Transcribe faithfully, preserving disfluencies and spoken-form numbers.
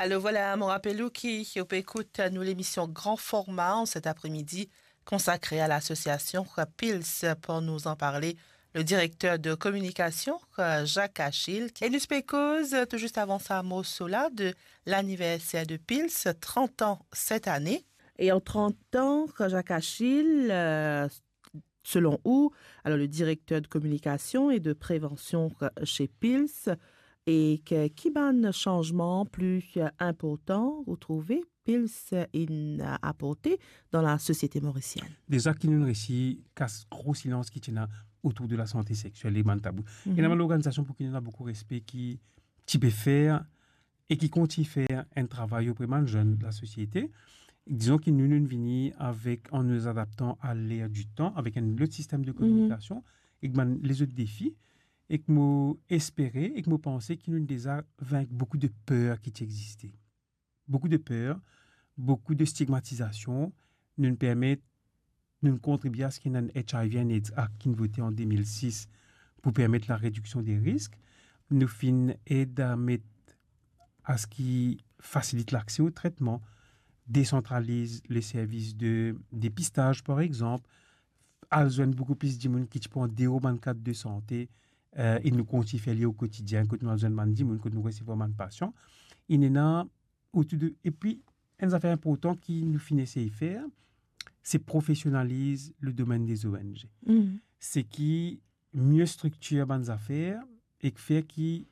Alors voilà, mo rapel ou ki ou pe ekout nou lemision Grand Format an set apremidi konsakre a lasosiasion Pils. Pour nous en parler, le directeur de communication, Jacques Achille. E nou pe koz tou zis avan sa morso la de laniverser de Pils, trant an set ane. E an trant an, Jacques Achille, euh, selon ou, alors le directeur de communication et de prévention chez Pils, e ki, ki bann sanzman pli inportan ou trouve Pils inn aporte dan lasosiete morisienn? Deza ki nou resi kas gro silans ki ti ena otour de lasante sexiel e bann tabou. Mhm. Ena bann lorganizasion pou ki nou ena boukou respe ki ti pe fer e ki kontign fer enn travay opre bann zenn lasosiete. Dizon ki nou, nou vini avek, an nou adaptan a ler di tan, avek enn lot sistem de kominikasion, ek bann lezot defi, ek mo espere, ek mo panse ki nou deza vink boukou de per ki ti existe. Boukou de per, boukou de stigmatizasion, nou permet, nou kontribie a se ki ena enn H I V and AIDS Act ki inn vote an de mil sis pou permet larediksion de risk. Nou finn ed a met a se ki fasilit lakse o tretman, desantraliz le servis de depistaz, par exanp, al zwenn boukou plis dimoun ki ti pran dero bann kad de sante, eh, e nou kontign fer li o kotidien, kot nou al zwenn bann dimoun, kot nou resevwar bann pasian. Inn ena otour de, epi enn zafer inportan ki nou finn esey fer, se profesionaliz le domenn des O N G. Mhm. Se ki mie striktir bann zafer ek fer ki